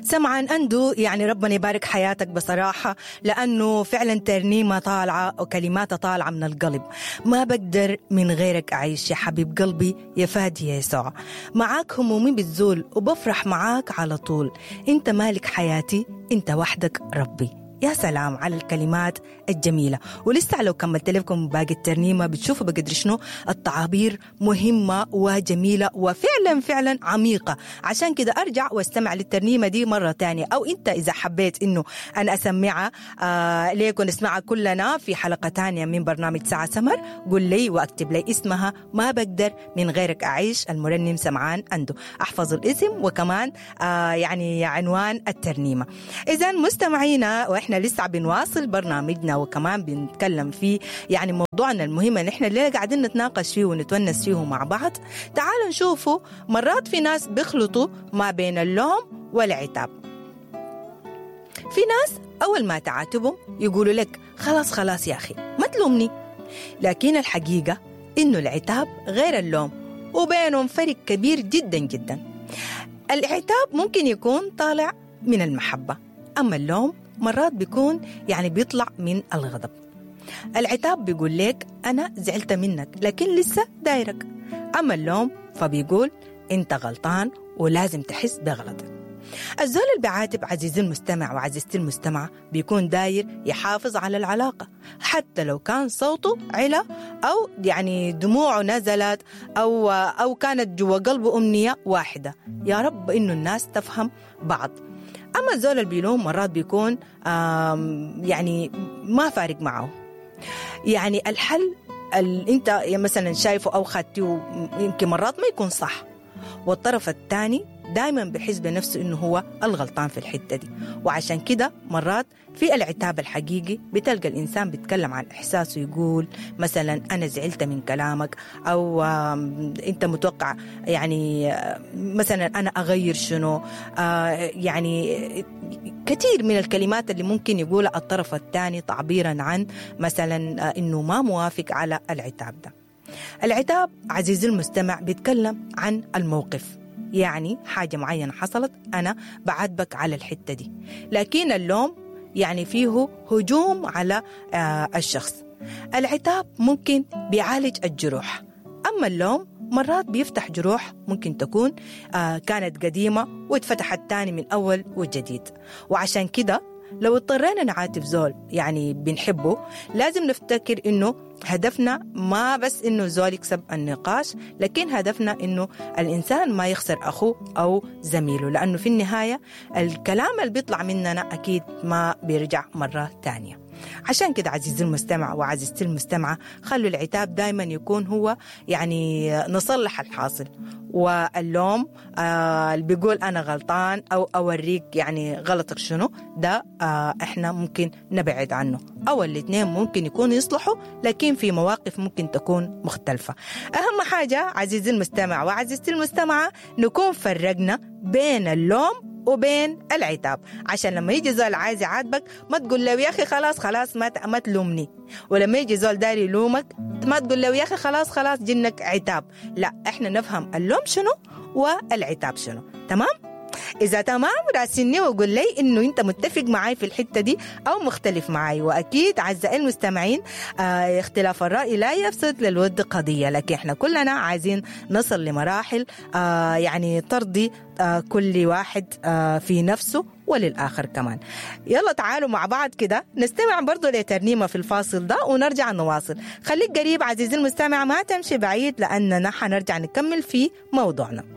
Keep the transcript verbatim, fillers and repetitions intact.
سمعان أندو، يعني ربنا يبارك حياتك بصراحة، لأنه فعلا ترنيمة طالعة وكلماتها طالعة من القلب. ما بقدر من غيرك أعيش يا حبيب قلبي يا فادي يا يسوع، معاك همومي بتزول وبفرح معاك على طول، انت مالك حياتي انت وحدك ربي. يا سلام على الكلمات الجميلة. ولسه لو كملت لكم باقي الترنيمة بتشوفوا بقدر شنو التعابير مهمة وجميلة وفعلا فعلا عميقة. عشان كده أرجع واستمع للترنيمة دي مرة تانية، أو أنت إذا حبيت إنه أنا أسمعها آه ليك ونسمعها كلنا في حلقة تانية من برنامج ساعة سمر، قل لي واكتب لي اسمها ما بقدر من غيرك أعيش، المرنم سمعان أندو. أحفظ الاسم وكمان آه يعني عنوان الترنيمة. إذا مستمعينا، وإحنا لسه بنواصل برنامجنا وكمان بنتكلم فيه يعني موضوعنا المهم اللي احنا اللي قاعدين نتناقش فيه ونتونس فيه مع بعض. تعالوا نشوفوا مرات في ناس بيخلطوا ما بين اللوم والعتاب. في ناس أول ما تعاتبهم يقولوا لك خلاص خلاص يا أخي ما تلومني، لكن الحقيقة إنه العتاب غير اللوم وبينهم فرق كبير جدا جدا. العتاب ممكن يكون طالع من المحبة، أما اللوم مرات بيكون يعني بيطلع من الغضب. العتاب بيقول لك أنا زعلت منك لكن لسه دايرك، أما اللوم فبيقول أنت غلطان ولازم تحس بغلطك. الزول اللي بيعاتب عزيزي المستمع وعزيزتي المستمعة بيكون داير يحافظ على العلاقة حتى لو كان صوته علا أو يعني دموعه نزلت أو, أو كانت جوا قلبه أمنية واحدة، يا رب إنه الناس تفهم بعض. أما الزول اللي بيلوم مرات بيكون يعني ما فارق معه. يعني الحل اللي أنت مثلا شايفه أو خدته يمكن مرات ما يكون صح، والطرف الثاني دايما بحس بنفسه إنه هو الغلطان في الحتة دي. وعشان كده مرات في العتاب الحقيقي بتلقى الإنسان بيتكلم عن إحساسه، يقول مثلا أنا زعلت من كلامك، أو أنت متوقع يعني مثلا أنا أغير شنو، يعني كثير من الكلمات اللي ممكن يقولها الطرف الثاني تعبيرا عن مثلا إنه ما موافق على العتاب ده. العتاب عزيزي المستمع بيتكلم عن الموقف، يعني حاجة معينة حصلت أنا بعاتبك على الحتة دي، لكن اللوم يعني فيه هجوم على آه الشخص. العتاب ممكن بيعالج الجروح، أما اللوم مرات بيفتح جروح ممكن تكون آه كانت قديمة واتفتحت تاني من أول وجديد. وعشان كده لو اضطرينا نعاتب زول يعني بنحبه لازم نفتكر إنه هدفنا ما بس إنه زول يكسب النقاش، لكن هدفنا إنه الإنسان ما يخسر أخوه أو زميله، لأنه في النهاية الكلام اللي بيطلع مننا أكيد ما بيرجع مرة تانية. عشان كده عزيزي المستمع وعزيزتي المستمعة، خلوا العتاب دايما يكون هو يعني نصلح الحاصل، واللوم آه اللي بيقول أنا غلطان أو أوريك يعني غلطك شنو ده آه إحنا ممكن نبعد عنه، أو الاثنين ممكن يكونوا يصلحوا لكن في مواقف ممكن تكون مختلفة. أهم حاجة عزيزي المستمع وعزيزتي المستمعة نكون فرقنا بين اللوم وبين العتاب، عشان لما يجي زول عايز يعاتبك ما تقول له يا أخي خلاص خلاص ما ما تلومني، ولما يجي زول داري يلومك ما تقول له يا أخي خلاص خلاص جنك عتاب. لا، احنا نفهم اللوم شنو والعتاب شنو. تمام؟ إذا تمام راسلني وقول لي إنه أنت متفق معي في الحتة دي أو مختلف معي. وأكيد أعزائي المستمعين آه اختلاف الرأي لا يفسد للود قضية، لكن إحنا كلنا عايزين نصل لمراحل آه يعني ترضي آه كل واحد آه في نفسه وللآخر كمان. يلا تعالوا مع بعض كده نستمع برضو لترنيمة في الفاصل ده ونرجع نواصل. خليك قريب عزيزي المستمع، ما تمشي بعيد لأننا حنرجع نكمل في موضوعنا.